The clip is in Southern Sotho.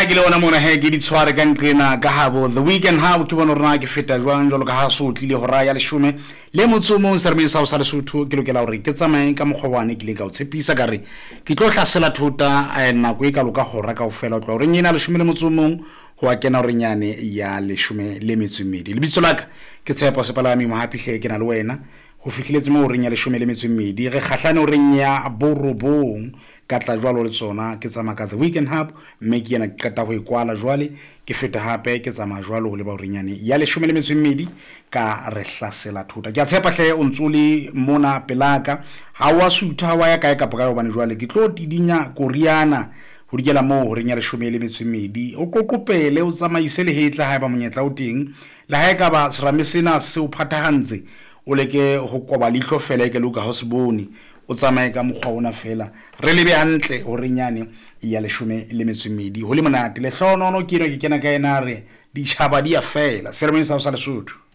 ke le ona mona he ke di tshware ka nqena ka habo The Weekend Hub, ke bone hore na ke feta jwang jwalo ka ha so tlile hora ya leshome le motso o mong seremeng sa ho sa Lesotho. Ke lokela hore ke tsamaye ka mokgwa wane ke ileng ka o tshepisa, ka re ke tlo hlasela thota nako e kalo ka hora kaofela, ho tloha horeng ena leshome le motso o mong ho a kena horeng yane ya leshome le metso e mmedi. Lebitso la ka ke Tshepo Sepalami Mohapi hle, ke na le wena ho fihliletse mo horeng ya leshome le metso e mmedi. Re kgahlane horeng ya borobong, ka tla jwalo le tsona ke tsamaya ka The Weekend Hub, mme ke yena ke qeta ho e kwala jwale, ke feta hape ke tsamaya jwalo ho leba horeng yane ya leshome le metso e mmedi ka re hlasela thota. Ke a tshepa hle o ntso le mona pelaka, ha wa sutha, ha wa ya kae kapa kae, hobane jwale ke tlo tidinya koriana ho dikela moo horeng ya leshome le metso e mmedi. O qoqopele, o tsamaise lehetla haeba monyetla o teng, le ha e ka ba serame sena se o phathahantse, o leke ho koba leihlo fela e ke le ka ha o se bone, o tsamaye ka mokgwa ona fela, re lebe hantle horeng yane ya leshome le metso e mmedi. Ho le monate lehlohonono ke eno ke kena ka ena, re ditjhaba di ya fela seremeng sa ho sa Lesotho.